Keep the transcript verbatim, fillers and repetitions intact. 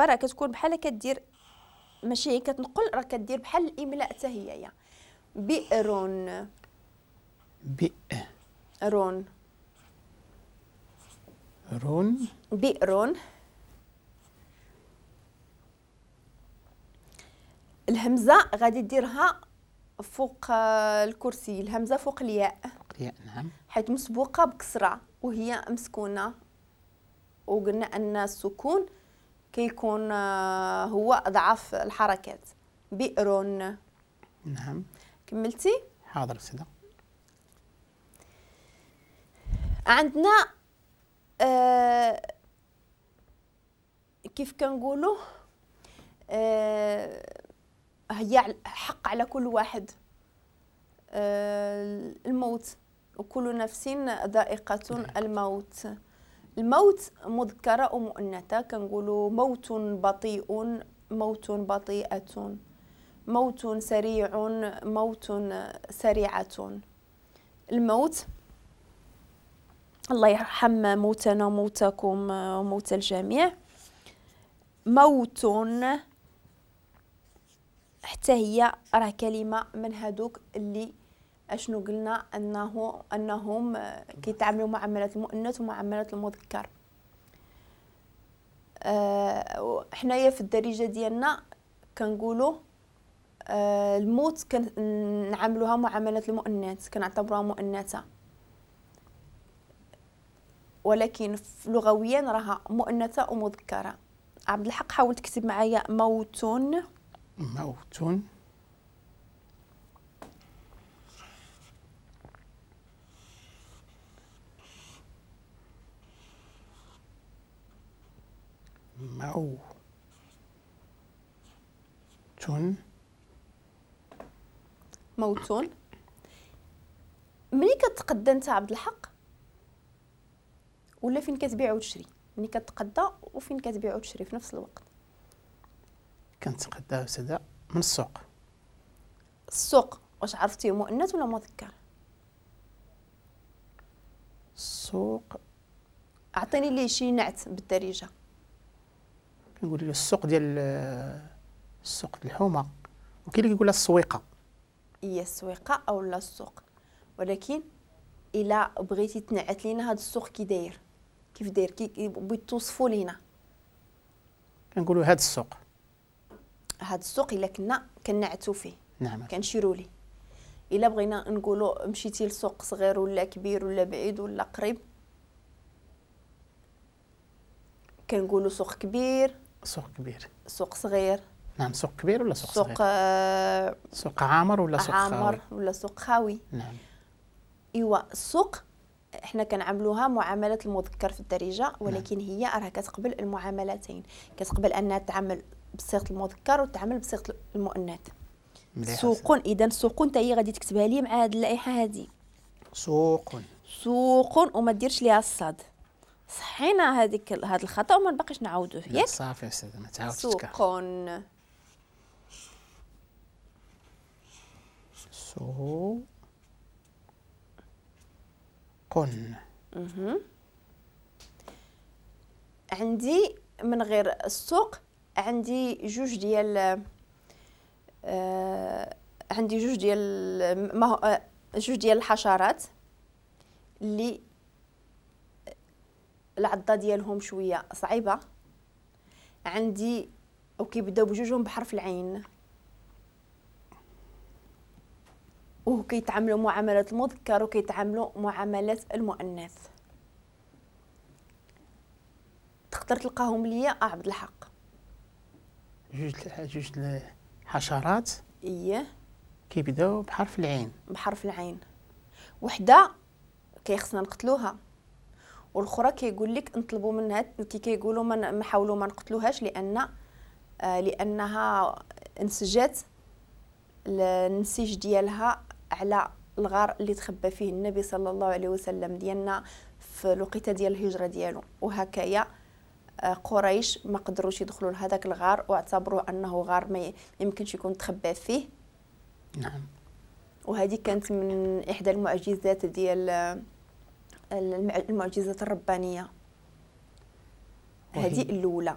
راه كتكون بحال كدير، ماشي هي كتنقل، راه كدير بحال الاملاء حتى هي. بئر. بئر. رون. رون. بئر. الهمزة غادي ديرها فوق الكرسي، الهمزة فوق الياء. فوق الياء نعم، حيث مسبوقة بكسرة وهي مسكونة، وقلنا أن السكون كيكون هو أضعف الحركات. بئر. نعم. كملتي؟ حاضر سيدة. عندنا آه كيف كنقولوا آه هي حق على كل واحد آه الموت، وكل نفس ذائقة الموت. الموت مذكرة ومؤنثة، كنقولوا موت بطيء، موت بطيئة، موت سريع، موت سريعة. الموت، الله يرحم موتنا وموتاكم وموت الجميع. موت حتى هي راه كلمة من هادوك اللي اشنو قلنا انه انهم كيتعاملوا معاملة المؤنث ومعاملة المذكر. أه حنايا في الدارجة ديالنا كنقولوا أه الموت كنعاملوها معاملة المؤنث، كنعتبروها مؤنثة، ولكن لغويا راها مؤنثة ومذكرة. عبد الحق حاول تكتب معايا موت. موت. موت. موت. ملي كتقدى انت عبد الحق ولا فين كتبيع وتشري؟ ملي كتقدى وفين كتبيع وتشري في نفس الوقت؟ كنتقدى أستاذة من السوق. السوق واش عرفتيه مؤنث ولا مذكر؟ السوق اعطيني ليه شي نعت بالدارجة. كنقول له السوق ديال السوق الحومه، وكاين اللي كيقول لها السويقه. هي السويقه او لا السوق، ولكن الا بغيتي تنعت لينا هذا السوق كي داير، كيف داير، كي بغيت توصفوا لينا، كنقولوا هذا السوق. هذا السوق الا كنا كنعتو فيه، نعم، كنشيروا ليه. الا بغينا نقولوا مشيتي لسوق صغير ولا كبير ولا بعيد ولا قريب، كنقولوا سوق كبير، سوق كبير، سوق صغير. نعم، سوق كبير ولا سوق صغير، سوق آه سوق عامر ولا سوق عامر خاوي، ولا سوق خاوي. نعم. ايوا السوق احنا كنعاملوها معاملة المذكر في الدارجة، ولكن نعم. هي راه كتقبل المعاملتين، كتقبل انها تعمل بصيغة المذكر وتعمل بصيغة المؤنث. سوق، اذا سوق انت هي غادي تكتبها لي مع هذه اللائحة هذه. سوق. سوق وما ديرش ليها الصاد. صحينا هذيك هذا الخطا وما نبقيش نعاودوه، ياك؟ صافي استاذ، ما تعاودش سوق. سوق. اها. عندي من غير السوق عندي جوج ديال آه عندي جوج ديال ما هو جوج ديال الحشرات اللي العضه ديالهم شوية صعيبة. عندي وكيبداو بجوجهم بحرف العين، وكيتعاملوا معاملة المذكر وكيتعاملوا معاملة المؤنث. تقدر تلقاهم ليا عبد الحق؟ جوج جوج الحشرات ايه كيبداو بحرف العين. بحرف العين، وحده كيخصنا نقتلوها، والاخرى كيقول لك نطلبوا منها، كي كيقولوا ما نحاولوا ما نقتلوهاش لان آه لانها انسجات النسيج ديالها على الغار اللي تخبى فيه النبي صلى الله عليه وسلم ديالنا في الوقيته ديال الهجرة ديالو، وهكايا قريش ما قدروش يدخلوا لهذاك الغار واعتبروه انه غار ما يمكنش يكون تخبى فيه. نعم. وهذه كانت من احدى المعجزات ديال المعجزات الربانية. هذه الاولى.